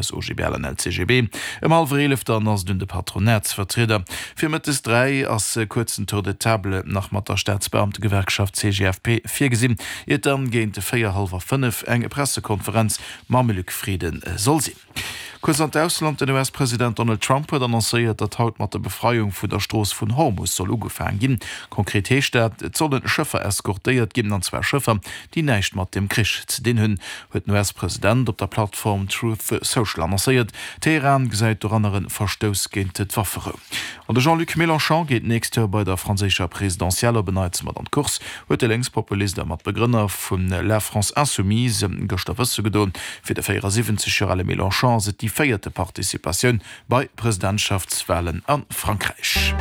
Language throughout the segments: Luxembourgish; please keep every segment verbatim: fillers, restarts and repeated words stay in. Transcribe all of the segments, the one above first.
aus O G B L an L C G B. Ëm hallwer eelef dann ass et un de Patronatsvertrieder. Fir mëttes dräi ass e kuerzen Tour de table nach mat der Staatsbeamtegewerkschaft C G F P virgesinn, iert dann géint véier, hallwer fënnef eng Pressekonferenz mam Luc Frieden soll sinn. Kuerz an d'Ausland, Den U S-President Donald Trump huet annoncéiert, datt haut mat der Befreiung vun der Strooss vun Hormus soll ugefaange ginn. Konkret heescht dat, et solle Schëffer eskortéiert ginn, an zwar Schëffer, déi näischt mat dem Krich ze dinn hunn, huet den U S-President op der Plattform Truth Social annoncéiert. Teheran gesäit doranner e Verstouss géint d'Wafferou. An de Jean-Luc Mélenchon geet d'nächst Joer bei der franséischer Presidentielle op en Neits mat an d'Course, huet de Lénkspopulist a Matbegrënner vun La France Insoumise gëschter wësse gedoen. Fir de véierasiwwenzeg Joer ale Mélenchon ass et déi véierte Participatioun bei Presidentschaftswalen a Frankräich.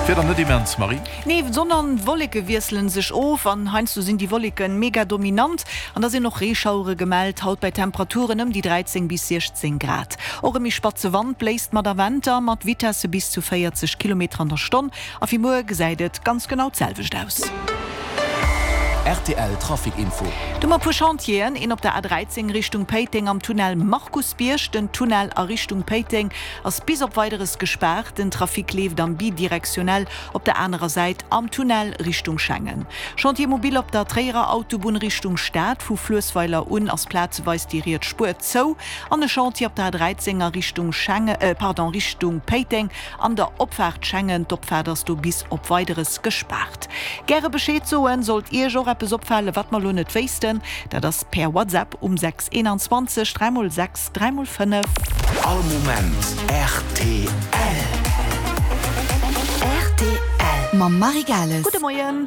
Wieder net immens, Marie? Nee, Sonn an Wolleke wiesselen sech of an heiansdo sinn déi Wolleken mega dominant an da sinn och Reeschauere gemellt, haut bei Temperaturen ëm déi dräizéng bis siechzéng Grad. Och e méi spatze Wand bléist mat a Wanter mat Vitesse bis zu véierzeg Kilometer an der Stonn a fir muer gesäit et ganz genau d'selwecht aus. R T L Trafic Info. Do hu mer e puer Chantieren, een op der A dräizéng Richtung Péiteng am Tunnel Markusbierg. Den Tunnel a Richtung Péiteng ass bis op Weideres gespaart. Den Trafic leeft am bidirektionell op der anerer Säit am Tunnel Richtung Schengen. Chantier mobile op der Tréierer Autobunn Richtung Stad, vu Fluessweiler un ass plazeweis déi riets Spuer zou. An e Chantier op der A dräizéng a Richtung Schengen, pardon, Richtung Péiteng an der Opfaart Schengen. D'Opfaart ass do bis op Weideres gespaart. Gäre Bescheed soen, sollt Iech och eppes opfalen, wat mer lo net wéissten. Dat ass per WhatsApp um sechs eenanzwanzeg dräi mol sechs dräi mol fënnef. All Moment R T L. R T L mam Marie Gales. Gudde Moien.